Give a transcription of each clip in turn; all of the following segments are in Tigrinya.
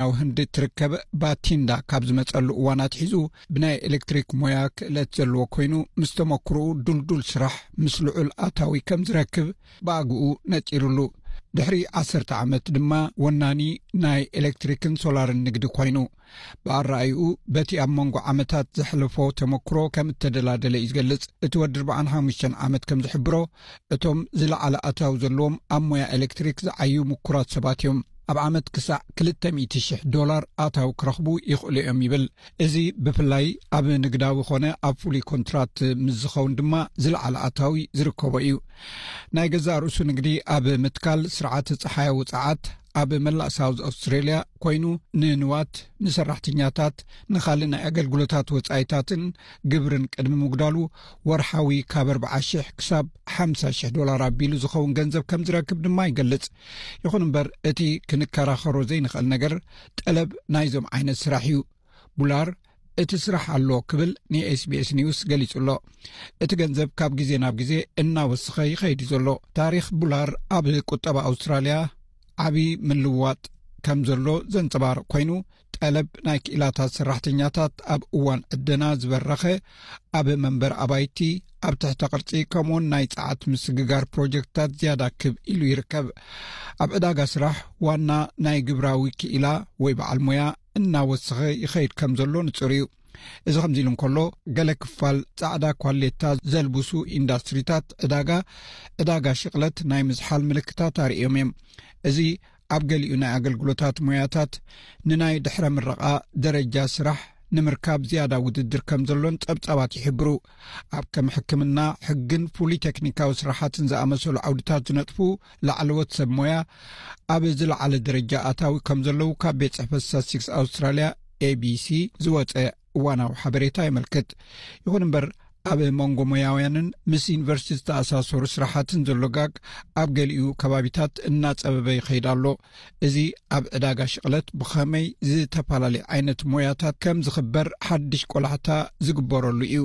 ኣብ ህንዲ እትርከብ ባቲንዳ ካብ ዝመጸሉ እዋን ኣትሒዙ ብናይ ኤሌክትሪክ ሞያ ክእለት ዘለዎ ኮይኑ፣ ምስ ተመክሮኡ ድልዱል ስራሕ ምስ ልዑል ኣታዊ ከም ዝረክብ ብኣግኡ ነጺሩሉ። ድሕሪ ዓሰርተ ዓመት ድማ ወናኒ ናይ ኤሌክትሪክን ሶላርን ንግዲ ኮይኑ። ብኣረኣይኡ፣ በቲ ኣብ መንጎ ዓመታት ዘሕለፎ ተመክሮ ከም እተደላደለ እዩ ዝገልጽ። እቲ ወዲ ኣርባዓን ሓሙሽተን ዓመት ከም ዝሕብሮ፣ እቶም ዝለዓለ ኣታዊ ዘለዎም ኣብ ሞያ ኤሌክትሪክ ዝዓዩ ምኩራት ሰባት እዮም። ኣብ ዓመት ክሳዕ ክልተ ሚእቲ ሽሕ ዶላር ኣታዊ ክረኽቡ ይኽእሉ እዮም ይብል። እዚ ብፍላይ ኣብ ንግዳዊ ኾነ ኣብ ፍሉይ ኮንትራት ምስ ዝኸውን ድማ ዝለዓለ ኣታዊ ዝርከቦ እዩ። ናይ ገዛእ ርእሱ ንግዲ ኣብ ምትካል ስርዓተ ጸሓያዊ ጸዓት ኣብ መላእ ሳውዝ ኣውስትሬልያ ኮይኑ፣ ንንዋት፣ ንሰራሕተኛታት፣ ንኻልእ ናይ ኣገልግሎታት ወጻኢታትን ግብርን ቅድሚ ምጉዳሉ፣ ወርሓዊ ካብ ኣርብዓ ሽሕ ክሳብ ሓምሳ ሽሕ ዶላር ኣቢሉ ዝኸውን ገንዘብ ከም ዝረክብ ድማ ይገልጽ። ይኹን እምበር፣ እቲ ክንከራኸሮ ዘይንኽእል ነገር ጠለብ ናይዞም ዓይነት ስራሕ እዩ። ቡላር፣ እቲ ስራሕ ኣሎ ክብል ንኤስቢኤስ ኒውስ ገሊጹ ኣሎ። እቲ ገንዘብ ካብ ግዜ ናብ ግዜ እናወሰኸ ይኸይድ እዩ ዘሎ። ታሪኽ ቡላር ኣብ ቁጠባ ኣውስትራልያ ዓቢ ምልዋጥ ከም ዘሎ ዘንጸባርቕ ኮይኑ፣ ጠለብ ናይ ክኢላታት ሰራሕተኛታት ኣብ እዋን ዕደና ዝበረኸ፣ ኣብ መንበር ኣባይቲ፣ ኣብ ትሕተ ቅርጺ፣ ከምኡውን ናይ ጸዓት ምስግጋር ፕሮጀክትታት ዝያዳ ክብ ኢሉ ይርከብ። ኣብ ዕዳጋ ስራሕ ዋና ናይ ግብራዊ ክኢላ ወይ በዓል ሞያ እናወሰኸ ይኸይድ ከም ዘሎ ንጹር እዩ። እዚ ከምዚ ኢሉ እንከሎ፣ ገለ ክፋል ጻዕዳ ኳሌታ ዘልብሱ ኢንዳስትሪታት ዕዳጋ፣ ዕዳጋ ሽቕለት ናይ ምዝሓል ምልክታት ኣርእዮም እዮም። እዚ ኣብ ገሊኡ ናይ ኣገልግሎታት ሞያታት ንናይ ድሕረ ምረቓ ደረጃ ስራሕ ንምርካብ ዝያዳ ውድድር ከም ዘሎን ጸብጻባት ይሕብሩ። ኣብ ከም ሕክምና፣ ሕግን ፍሉይ ቴክኒካዊ ስራሓትን ዝኣመሰሉ ዓውድታት ዝነጥፉ ላዕለዎት ሰብ ሞያ ኣብ ዝለዓለ ደረጃ ኣታዊ ከም ዘለዉ ካብ ቤት ጽሕፈት ስታትስቲክስ ኣውስትራልያ፣ ኤቢሲ፣ ዝወጸ እዋናዊ ሓበሬታ የመልክት። ይኹን እምበር፣ ኣብ መንጎ ሞያውያንን ምስ ዩኒቨርሲቲ ዝተኣሳሰሩ ስራሓትን ዘሎ ጋግ ኣብ ገሊኡ ከባቢታት እናጸበበ ይኸይድ ኣሎ። እዚ ኣብ ዕዳጋ ሽቕለት ብኸመይ ዝተፈላለዩ ዓይነት ሞያታት ከም ዝኽበር ሓድሽ ቆላሕታ ዝግበረሉ እዩ።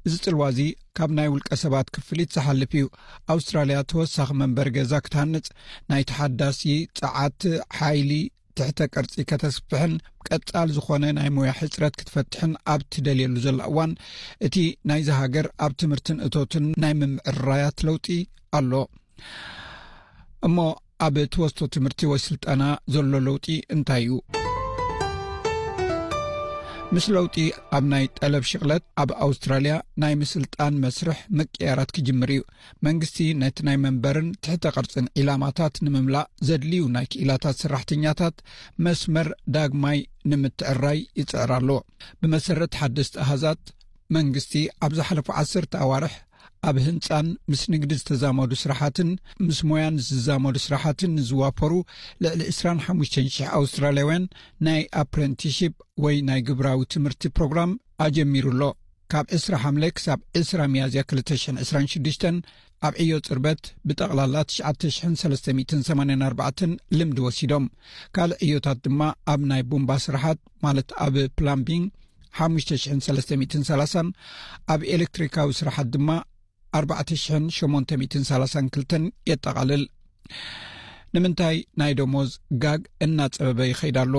እዚ ጽልዋ እዚ ካብ ናይ ውልቀ ሰባት ክፍሊት ዝሓልፍ እዩ። ኣውስትራልያ ተወሳኺ መንበሪ ገዛ ክትሃንጽ፣ ናይ ተሓዳሲ ጸዓት ሓይሊ ትሕተ ቅርጺ ከተስፍሕን ቀጻል ዝኾነ ናይ ሞያ ሕጽረት ክትፈትሕን ኣብ ትደልየሉ ዘላ እዋን፣ እቲ ናይዚ ሃገር ኣብ ትምህርትን እቶትን ናይ ምምዕራያት ለውጢ ኣሎ። እሞ ኣብ ትወስቶ ትምህርቲ ወይ ስልጠና ዘሎ ለውጢ እንታይ እዩ? ምስ ለውጢ ኣብ ናይ ጠለብ ሽቕለት፣ ኣብ ኣውስትራልያ ናይ ምስልጣን መስርሕ ምቅያራት ክጅምር እዩ። መንግስቲ ነቲ ናይ መንበርን ትሕተ ቅርጽን ዒላማታት ንምምላእ ዘድልዩ ናይ ክኢላታት ሰራሕተኛታት መስመር ዳግማይ ንምትዕራይ ይጽዕር ኣሎ። ብመሰረት ሓደስቲ ኣሃዛት፣ መንግስቲ ኣብ ዝሓለፉ ዓሰርተ ኣዋርሕ ኣብ ህንጻን ምስ ንግዲ ዝተዛመዱ ስራሓትን ምስ ሞያን ዝዛመዱ ስራሓትን ንዝዋፈሩ ልዕሊ ዕስራን ሓሙሽተን ሽሕ ኣውስትራልያውያን ናይ ኣፕረንቲሺፕ ወይ ናይ ግብራዊ ትምህርቲ ፕሮግራም ኣጀሚሩ ኣሎ። ካብ ዕስራ ሓምለ ክሳብ ዕስራ ሚያዝያ ክልተ ሽሕን ዕስራን ሽዱሽተን ኣብ ዕዮ ጽርበት ብጠቕላላ ትሽዓተ ሽሕን ሰለስተ ሚእትን ሰማንያን ኣርባዕተን ልምዲ ወሲዶም። ካልእ ዕዮታት ድማ ኣብ ናይ ቡምባ ስራሓት፣ ማለት ኣብ ፕላምቢንግ፣ ሓሙሽተ ሽሕን ሰለስተ ሚእትን ሰላሳን፣ ኣብ ኤሌክትሪካዊ ስራሓት ድማ ኣርባዕተ ሽሕን ሸሞንተ ሚእትን ሰላሳን ክልተን የጠቓልል። ንምንታይ ናይ ደሞዝ ጋግ እናጸበበ ይኸይድ ኣሎ?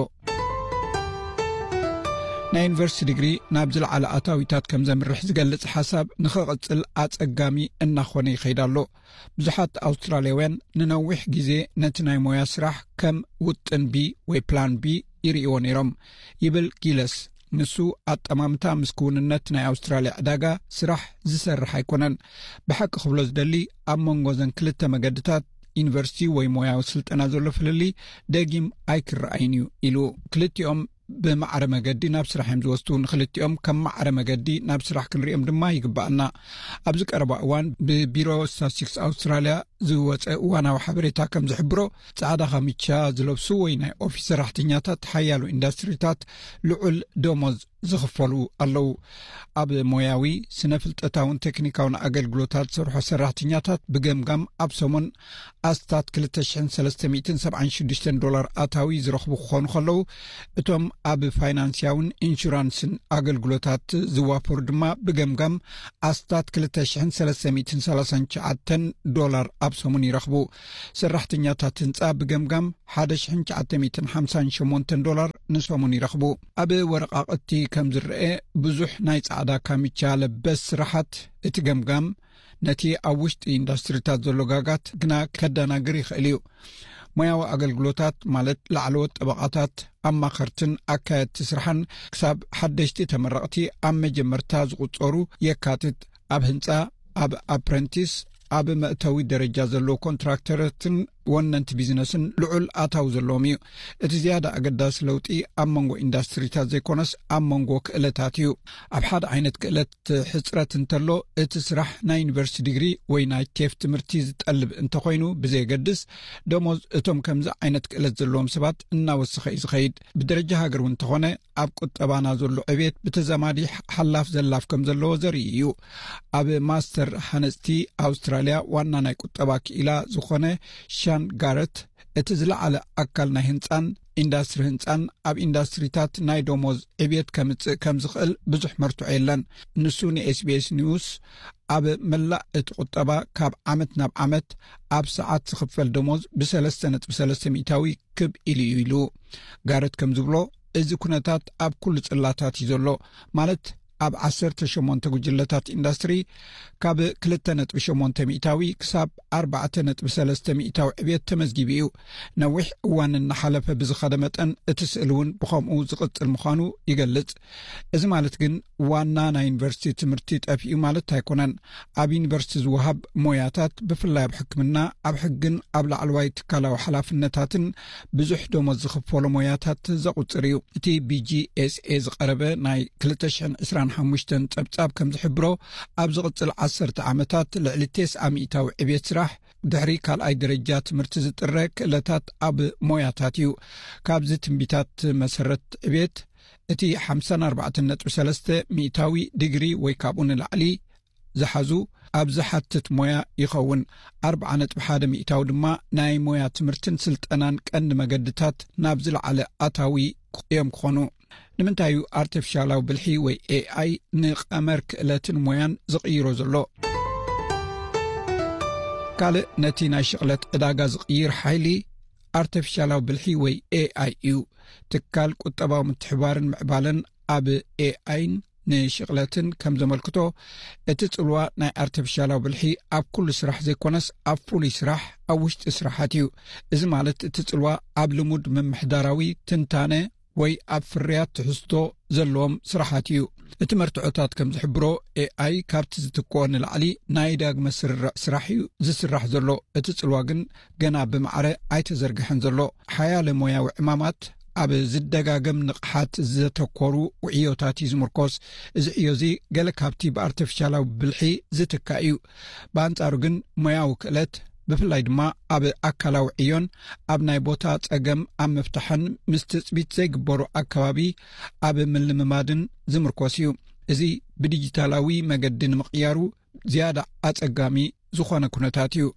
ናይ ዩኒቨርሲቲ ዲግሪ ናብ ዝለዓለ ኣታዊታት ከም ዘምርሕ ዝገልጽ ሓሳብ ንኽቕጽል ኣጸጋሚ እናኾነ ይኸይድ ኣሎ። ብዙሓት ኣውስትራልያውያን ንነዊሕ ግዜ ነቲ ናይ ሞያ ስራሕ ከም ውጥን ቢ ወይ ፕላን ቢ ይርእይዎ ነይሮም፣ ይብል ጊለስ። ንሱ ኣጠማምታ ምስ ክውንነት ናይ ኣውስትራልያ ዕዳጋ ስራሕ ዝሰርሕ ኣይኮነን። ብሓቂ ክብሎ ዝደሊ፣ ኣብ መንጎ እዘን ክልተ መገድታት፣ ዩኒቨርሲቲ ወይ ሞያዊ ስልጠና፣ ዘሎ ፍልልይ ደጊም ኣይክረኣይን እዩ ኢሉ። ክልቲኦም ብማዕረ መገዲ ናብ ስራሕ እዮም ዝወስዱ። ንክልቲኦም ከም ማዕረ መገዲ ናብ ስራሕ ክንሪኦም ድማ ይግባኣና። ኣብዚ ቀረባ እዋን ብቢሮ ስታትስቲክስ ኣውስትራልያ ዝወፀ እዋናዊ ሓበሬታ ከም ዝሕብሮ፣ ፃዕዳ ካምቻ ዝለብሱ ወይ ናይ ኦፊስ ሰራሕተኛታት ሓያሎ ኢንዳስትሪታት ልዑል ደሞዝ ዝኽፈሉ ኣለዉ። ኣብ ሞያዊ፣ ስነ ፍልጠታውን ቴክኒካውን ኣገልግሎታት ዝሰርሑ ሰራሕተኛታት ብገምጋም ኣብ ሰሙን ኣስታት ክልተ ሽሕን ሰለስተ ሚእትን ሰብዓን ሽዱሽተን ዶላር ኣታዊ ዝረኽቡ ክኾኑ ከለዉ፣ እቶም ኣብ ፋይናንስያውን ኢንሹራንስን ኣገልግሎታት ዝዋፈሩ ድማ ብገምጋም ኣስታት ክልተ ሽሕን ሰለስተ ሚእትን ሰላሳን ትሽዓተን ዶላር ኣብ ሰሙን ይረኽቡ። ሰራሕተኛታት ህንጻ ብገምጋም ሓደ ሽሕን ትሽዓተ ሚእትን ሓምሳን ሸሞንተን ዶላር ንሰሙን ይረኽቡ። ኣብ ወረቓቕቲ ከም ዝረአ፣ ብዙሕ ናይ ጻዕዳ ካሚቻ ለበስ ስራሓት እቲ ገምጋም ነቲ ኣብ ውሽጢ ኢንዱስትሪታት ዘሎ ጋጋት ግና ከደናግር ይኽእል እዩ። ሞያዊ ኣገልግሎታት፣ ማለት ላዕለዎት ጠበቓታት፣ ኣማኸርትን ኣካየድቲ ስራሕን፣ ክሳብ ሓደሽቲ ተመረቕቲ ኣብ መጀመርታ ዝቑጸሩ የካትት። ኣብ ህንጻ፣ ኣብ ኣፕረንቲስ፣ ኣብ መእተዊ ደረጃ ዘለዉ ኮንትራክተራትን ወነንቲ ቢዝነስን ልዑል ኣታዊ ዘለዎም እዩ። እቲ ዝያዳ ኣገዳሲ ለውጢ ኣብ መንጎ ኢንዱስትሪታት ዘይኮነስ፣ ኣብ መንጎ ክእለታት እዩ። ኣብ ሓደ ዓይነት ክእለት ሕጽረት እንተሎ፣ እቲ ስራሕ ናይ ዩኒቨርሲቲ ዲግሪ ወይ ናይ ቴፍ ትምህርቲ ዝጠልብ እንተኾይኑ ብዘየገድስ፣ ደሞዝ እቶም ከምዚ ዓይነት ክእለት ዘለዎም ሰባት እናወሰኸ እዩ ዝኸይድ። ብደረጃ ሃገር እውን እንተኾነ፣ ኣብ ቁጠባና ዘሎ ዕቤት ብተዛማዲ ሓላፍ ዘላፍ ከም ዘለዎ ዘርኢ እዩ። ኣብ ማስተር ሃነፅቲ ኣውስትራልያ ዋና ናይ ቁጠባ ክኢላ ዝኾነ ሻን ጋረት፣ እቲ ዝለዓለ ኣካል ናይ ህንፃን ኢንዱስትሪ ህንፃን ኣብ ኢንዱስትሪታት ናይ ደሞዝ ዕብየት ከምፅእ ከም ዝኽእል ብዙሕ መርትዖ የለን። ንሱ ንኤስቢኤስ ኒውስ፣ ኣብ መላእ እቲ ቁጠባ ካብ ዓመት ናብ ዓመት ኣብ ሰዓት ዝኽፈል ደሞዝ ብሰለስተ ነጥቢ ሰለስተ ሚእታዊ ክብ ኢሉ እዩ ኢሉ። ጋረት ከም ዝብሎ፣ እዚ ኩነታት ኣብ ኩሉ ጽላታት እዩ ዘሎ። ማለት፣ ኣብ ዓሰርተ ሸሞንተ ጉጅለታት ኢንዱስትሪ ካብ ክልተ ነጥቢ ሸሞንተ ሚእታዊ ክሳብ ኣርባዕተ ነጥቢ ሰለስተ ሚእታዊ ዕብየት ተመዝጊቡ እዩ። ነዊሕ እዋን እናሓለፈ ብዝኸደ መጠን፣ እቲ ስእሊ እውን ብኸምኡ ዝቕጽል ምዃኑ ይገልጽ። እዚ ማለት ግን ዋና ናይ ዩኒቨርሲቲ ትምህርቲ ጠፊኡ ማለት ኣይኮነን። ኣብ ዩኒቨርሲቲ ዝወሃብ ሞያታት፣ ብፍላይ ኣብ ሕክምና፣ ኣብ ሕግን ኣብ ላዕለዋይ ትካላዊ ሓላፍነታትን ብዙሕ ደሞዝ ዝኽፈሎ ሞያታት ዘቑጽር እዩ። እቲ ብጂኤስኤ ዝቐረበ ናይ ክልተ ሽሕን ዕስራን ሓሙሽተን ጸብጻብ ከም ዝሕብሮ፣ ኣብ ዝቕጽል ዓሰርተ ዓመታት ልዕሊ ተስዓ ሚእታዊ ዕብየት ስራሕ ድሕሪ ካልኣይ ደረጃ ትምህርቲ ዝጥረ ክእለታት ኣብ ሞያታት እዩ። ካብዚ ትንቢታት መሰረት ዕብየት፣ እቲ ሓምሳን ኣርባዕተን ነጥቢ ሰለስተ ሚእታዊ ዲግሪ ወይ ካብኡ ንላዕሊ ዝሓዙ ኣብ ዝሓትት ሞያ ይኸውን። ኣርብዓ ነጥቢ ሓደ ሚእታዊ ድማ ናይ ሞያ ትምህርትን ስልጠናን ቀንዲ መገድታት ናብ ዝለዓለ ኣታዊ እዮም ክኾኑ። ንምንታይ እዩ ኣርቲፊሻላዊ ብልሒ ወይ ኤኣይ ንቐመር ክእለትን ሞያን ዝቕይሮ ዘሎ? ካልእ ነቲ ናይ ሽቕለት ዕዳጋ ዝቕይር ሓይሊ ኣርቲፊሻላዊ ብልሒ ወይ ኤኣይ እዩ። ትካል ቁጠባዊ ምትሕባርን ምዕባለን ኣብ ኤኣይን ንሽቕለትን ከም ዘመልክቶ፣ እቲ ጽልዋ ናይ ኣርቲፊሻላዊ ብልሒ ኣብ ኩሉ ስራሕ ዘይኮነስ፣ ኣብ ፍሉይ ስራሕ፣ ኣብ ውሽጢ ስራሓት እዩ። እዚ ማለት፣ እቲ ጽልዋ ኣብ ልሙድ ምምሕዳራዊ ትንታነ ወይ ኣብ ፍርያት ትሕዝቶ ዘለዎም ስራሓት እዩ። እቲ መርትዖታት ከም ዝሕብሮ፣ ኤኣይ ካብቲ ዝትክኦ ንላዕሊ ናይ ዳግመ ስርርዕ ስራሕ እዩ ዝስራሕ ዘሎ። እቲ ጽልዋ ግን ገና ብማዕረ ኣይተዘርግሐን ዘሎ። ሓያለ ሞያዊ ዕማማት ኣብ ዝደጋገም ንቕሓት ዘተኮሩ ውዕዮታት እዩ ዝምርኮስ። እዚ ዕዮ እዚ ገለ ካብቲ ብኣርቲፊሻላዊ ብልሒ ዝትካእ እዩ። ብኣንጻሩ ግን፣ ሞያዊ ክእለት፣ ብፍላይ ድማ ኣብ ኣካላዊ ዕዮን ኣብ ናይ ቦታ ጸገም ኣብ ምፍታሕን ምስ ትጽቢት ዘይግበሩ ኣከባቢ ኣብ ምልምማድን ዝምርኮስ እዩ። እዚ ብዲጂታላዊ መገዲ ንምቕያሩ ዝያዳ ኣጸጋሚ ዝኾነ ኩነታት እዩ።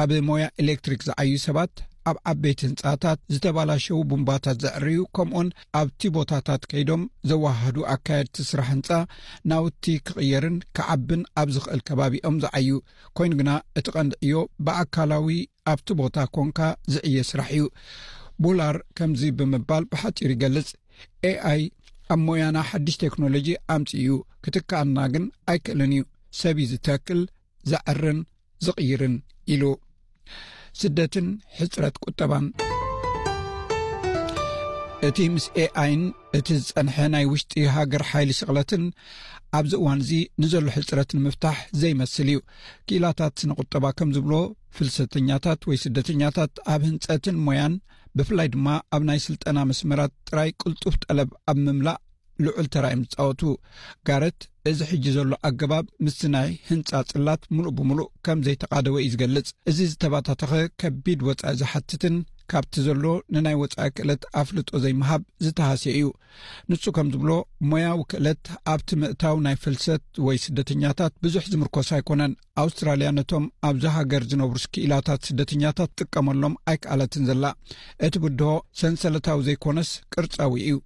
ኣብ ሞያ ኤሌክትሪክ ዝዓዩ ሰባት፣ ኣብ ዓበይቲ ህንጻታት፣ ዝተባላሸዉ ቡምባታት ዘዕርዩ፣ ከምኡውን ኣብቲ ቦታታት ከይዶም ዘወሃህዱ ኣካየድቲ ስራሕ ህንጻ፣ ናውቲ ክቕየርን ክዓብን ኣብ ዝኽእል ከባቢ እዮም ዝዓዩ። ኮይኑ ግና፣ እቲ ቀንዲ ዕዮ ብኣካላዊ ኣብቲ ቦታ ኮንካ ዝዕየ ስራሕ እዩ። ቡላር ከምዚ ብምባል ብሓጺሩ ይገልጽ፣ ኤኣይ ኣብ ሞያና ሓድሽ ቴክኖሎጂ ኣምጺኡ እዩ፣ ክትከኣና ግን ኣይክእልን እዩ። ሰብ እዩ ዝተክል፣ ዘዕርን ዝቕይርን ኢሉ። ስደትን ሕጽረት ቁጠባን። እቲ ምስ ኤኣይን እቲ ዝጸንሐ ናይ ውሽጢ ሃገር ሓይሊ ሽቕለትን ኣብዚ እዋን እዚ ንዘሎ ሕጽረት ንምፍታሕ ዘይመስል እዩ። ክኢላታት ስነ ቁጠባ ከም ዝብሎ፣ ፍልሰተኛታት ወይ ስደተኛታት ኣብ ህንጸትን ሞያን፣ ብፍላይ ድማ ኣብ ናይ ስልጠና መስመራት ጥራይ ቅልጡፍ ጠለብ ኣብ ምምላእ ልዑል ተራ እዮም ዝጻወቱ። ጋረት፣ እዚ ሕጂ ዘሎ ኣገባብ ምስቲ ናይ ህንጻ ጽላት ምሉእ ብምሉእ ከም ዘይተቓደወ እዩ ዝገልጽ። እዚ ዝተባታተኸ ከቢድ ወጻኢ ዝሓትትን ካብቲ ዘሎ ንናይ ወጻኢ ክእለት ኣፍልጦ ዘይምሃብ ዝተሃስየ እዩ። ንሱ ከም ዝብሎ፣ ሞያዊ ክእለት ኣብቲ ምእታው ናይ ፍልሰት ወይ ስደተኛታት ብዙሕ ዝምርኮስ ኣይኮነን። ኣውስትራልያ ነቶም ኣብዚ ሃገር ዝነብሩ ክኢላታት ስደተኛታት ትጥቀመሎም ኣይከኣለትን ዘላ። እቲ ብድሆ ሰንሰለታዊ ዘይኮነስ ቅርጻዊ እዩ።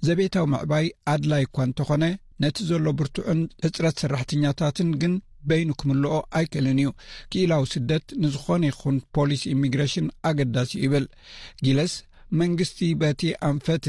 ዘቤታዊ ምዕባይ ኣድላይ እኳ እንተኾነ፣ ነቲ ዘሎ ብርቱዕን ሕጽረት ሰራሕተኛታትን ግን በይኑ ክምልኦ ኣይክእልን እዩ። ክኢላዊ ስደት ንዝኾነ ይኹን ፖሊሲ ኢሚግሬሽን ኣገዳሲ እዩ ይብል ጊለስ። መንግስቲ በቲ ኣንፈት